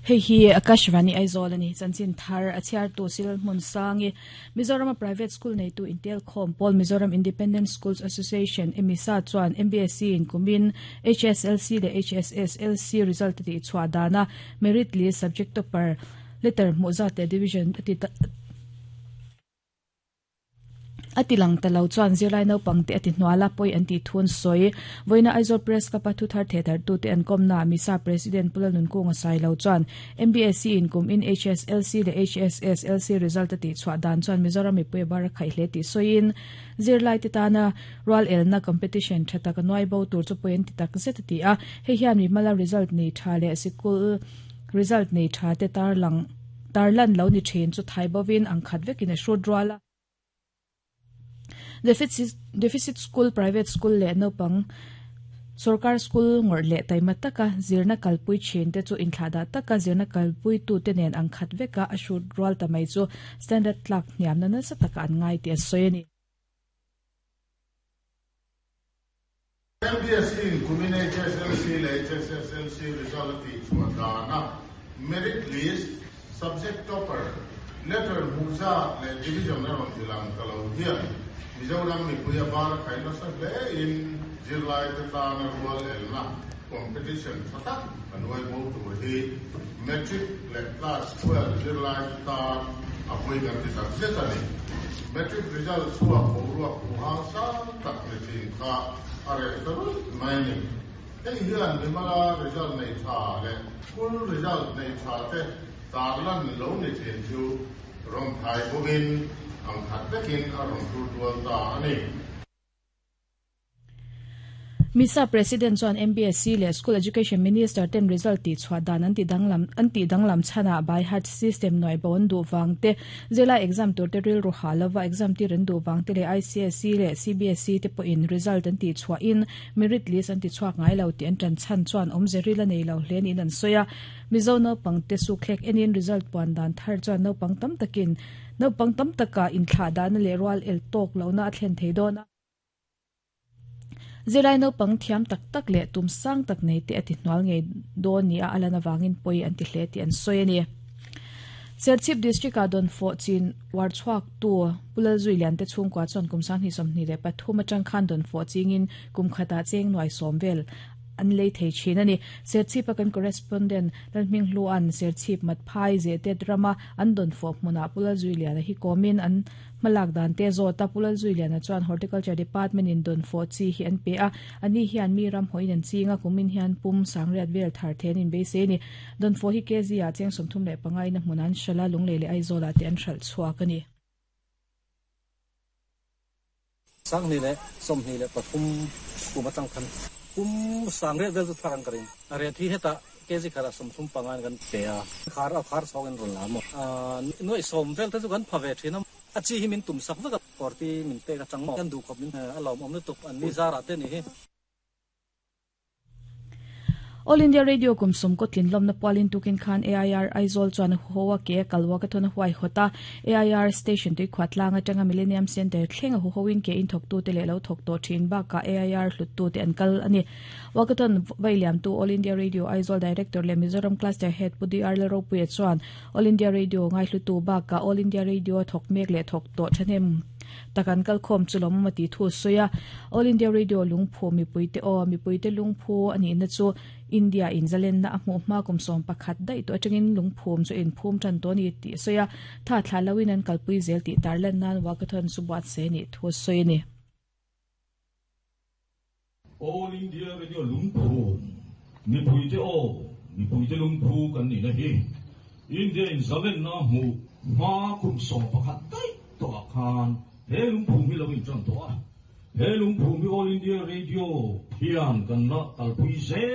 Hei hi Akashvani Aizawl a ni. Chanchin thar a chhiartu Cyril Hmunsangi, Mizorama private school neitu intelkhawm pawl Mizoram Independent Schools Association, MISA, chuan MBSE in kumin HSLC leh HSSLC result a tihchhuah dana merit list subject topper letter hmuh zat leh division a ti A ti lang ta lo chuan zirlai naupangte a ti hnual a, pawi an tih thu an sawi. Vawiina Aizawl Press Club-a thuthar thehdarhtute an kawmnaah Misa President Pu Lalnunkunga Sailo chuan MBSE in kum in HSLC leh HSSLC result a tihchhuah dan chuan Mizoram mipui a bar a khaih hle tih sawiin zirlaite tana rual elna competition tha tak a nuai bo tur chu pawi an ti tak zet a ti a. Hei hian mimala result nei tha leh sikul result nei tha te tarlang Tarlan lo ni thin chu thai bovin ang khat vekin a hrut rual a. Deficit school, private school leh naupang sorkar school ngawrh leh taima taka zirna kalpui thin te chu inthlahdah taka zirna kalpuitute nen ang khat veka a hrut rual ta mai chu standard tlak hniamna nasa taka an ngai tih a sawi a ni. MBSE in kumin HSLC leh HSSLC result a tihchhuah dana merit list, subject topper, letter hmuh zat leh division a rawn ti lang ta lo hian Mizoram mipui a bar a khai nasa hle in zirlaite tana rual elna competition tha tak a nuai bo tur hi Matric leh Class 12 zirlaite tan a pawi kan ti tak zet a ni. Matric result chhuak boruak huhang sang tak ni thin kha a reh ta ruih mai a ni. Hei hian mimala result nei tha leh school result nei tha te tarlan lo ni thin chu rawn thai bawkin ang khat vekin a rawn tur dual ta a ni. Misa President chuan MBSE leh School Education Minister ten result tihchhuah dan an tidanglam an tihdanglam chhanah by heart system nuai bo an duh vang te, zirlai exam tur te rilru ha lova exam tir an duh vang te leh ICSE leh CBSE te pawhin result an tihchhuahin merit list an tichhuak ngai lo tih an tan chhan chuan awmze ril a nei lo hle niin an sawi a. Mizo naupang te sukthlek enin result puan dan thar chuan naupang tam takin naupang tam takah inthlahdahna leh rual el tawk lohna a thlen thei dawn a. Zirlai naupang thiam tak tak leh tum sang tak nei te a ti hnual ngei dawn nia a lan avangin pawi an ti hle tih an sawi a ni. Serchhip District-ah Dawnfawh chin uar chhuaktu Pu Lalzui Liante chhungkua chuan kum 2023 atang khan Dawnfawh chingin kum khatah cheng nuai sawm vel an lei thei thin a ni. Serchhip-a kan correspondent Lalhminghlua'n Serchhip Matphai Zehtet rama an Dawnfawh hmunah Pu Lalzui Liana hi kawmin an Hmalak dan te zawt a, Pu Lalzuiliana chuan Horticulture Department in dawn fawh chi hi an pe a, a ni hian mi ram hawiin an ching a, kumin hian pum sangriat vel thar the an inbeisei a ni. Dawn fawh hi KZ ah cheng 35 in a hmun an hralh a, Lunglei leh Aizawl ah te an hralh chhuak a ni. 2023 kum atang khan pum sangriat vel chu thar an ka ring. A ret hi hetah KG khatah 35 in kan pe a, khar a khar chhawng in rawn la maw? Nuaih sawm vel te chu kan pha ve thin a, a chi hi min tum sak vek a, kawrti min pek atang maw? Kan duh khawp min a lawmawm lutuk an ni zarah te nih hi. All India Radio kum sawm kaw tlinlawmna pualin tukin khan AIR Aizawl chuan a huho a ke a kalwak a thawn a huaihawt a, AIR Station tuikhuah tlang atanga Millennium Centre thleng a huhoin ke in thawktute leh lo thawk tawh thin bakah AIR hluttute an kal a ni. Walkathon vailiamtu All India Radio Aizawl Director leh Mizoram Cluster Head Pu DR Lalropuia chuan All India Radio ngaihlutu bakah All India Radio a thawk mek leh thawk tawh thahnem tak an kalkhawm chu lawmawm a tih thu a sawi a. All India Radio lungphu mipuite aw, mipuite lungphu a nihna chu India in zalenna a hmuh hma kum 11 daih tawh atangin lungphum chu a inphum tan tawh a ni tih a sawi a. Tha thlah loin an kalpui zel tih tarlan nan Walkathon chu buatsaih a nih thu a sawi a ni. All India Radio lungphu, mipuite aw, mipuite lungphu kan nihna hi India in zalenna hmuh hma kum 11 daih tawhah khan he lungphum hi lo intan tawh a. He lungphum hi All India Radio hian kan la kalpui zel.